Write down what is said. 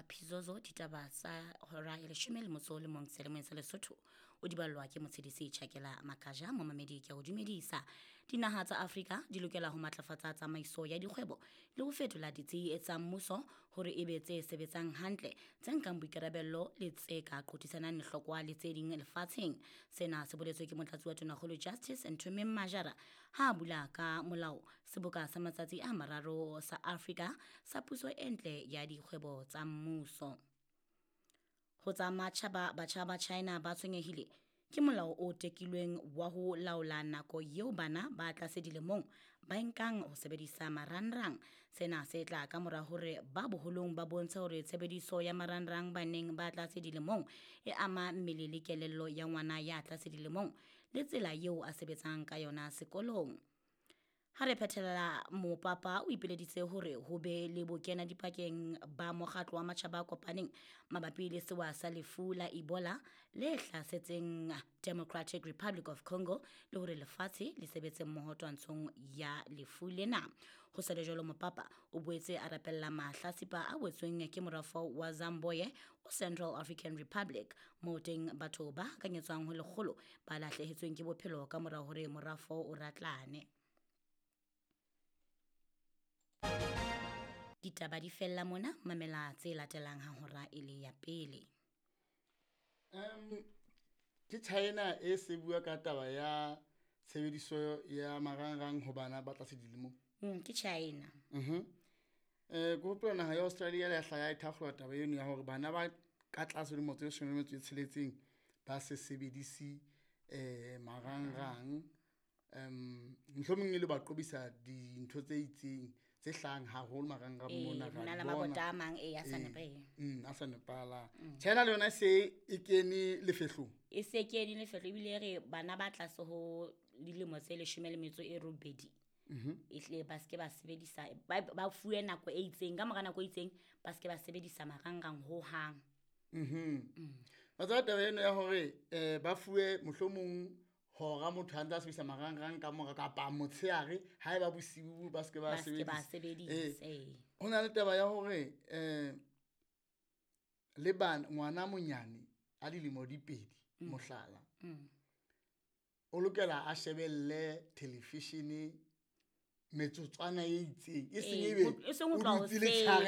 Phizozo ditaba tsa hora ya leshome le motso o le mong selemong sa Lesotho o di ballwa ke Motshedisi Tjhakela Makaja. Momamedi ke a o dumedisa. Dinaha tsa Afrika di lokela ho matlafatsa tsamaiso ya dikgwebo le ho fetola ditsi tsa mmuso hore e be tse sebetsang hantle, tse nkang boikarabello le tse ka qothisanang lehlokwa le tse ding lefatsheng. Sena se boletswe ke motlatsi wa Tonakgolo Justice Nthomeng Majara ha a bula ka molao seboka sa matsatsi a mararo sa Afrika sa puso e ntle ya dikgwebo tsa mmuso. Ho tsa matjhaba, batjha ba China ba tshwenyehile ke molao o tekilweng wa ho laola nako eo bana ba tlase dilemong ba nkang ho sebedisa marangrang. Sena se tla ka mora hore ba boholong ba bontshe hore tshebediso ya marangrang baneng ba tlase dilemong e ama mmele le kelello ya ngwana ya tlase dilemong le tsela eo a sebetsang ka yona sekolong. Ha re phethela, mopapa o ipileditse hore ho be le bokena dipakeng ba mokgatlo wa matjhaba a kopaneng mabapi le sewa sa lefu la Ebola le hlasetseng Democratic Republic of Congo le hore lefatshe le sebetse mmoho twantshong ya lefu lena. Ho sa le jwalo, mopapa o boetse a rapella mahlasipa a wetsweng ke morafo wa Zamboye o Central African Republic, moo teng batho ba hakanyetswang ho lekgolo ba lahlehetsweng ke bophelo ka mora hore morafo o ratlane. Ditaba di fella mona, mamela tse latelang ha hora e le ya pele. Ke China e se bua ka taba ya tshebediso ya marangrang ho bana ba tlase dilemong. Ke China. Ke hopola naha ya Australia le ya hlaha e thakgola taba eno ya hore bana ba ka tlase dilemo tse 16 ba se sebedise marangrang. Mohlomong e le ba qobisa dintho tse itseng tse hlahang haholo marangrang mona, ra di bona. A mang a sa a sa nepahalang. China le yona se e kene lefehlong. E se kene lefehlo ebile re bana ba tlase ho dilemo tse 18 ehlile ba seke ba sebedisa, ba fuwe nako e itseng, ka mora nako e itseng ba seke ba sebedisa marangrang hohang. Wa tseba taba eno ya hore ba fuwe mohlomong hora motho a ntse a sebedisa marangrang ka mora kapa motshehare ha eba bosiu ba seke ba sebedisa. Ho na le taba ya hore le bana ngwana monyane a dilemo di 2 mohlala o lokela a shebelle television metsotswana e itseng, e seng ebe o dutse letshehare.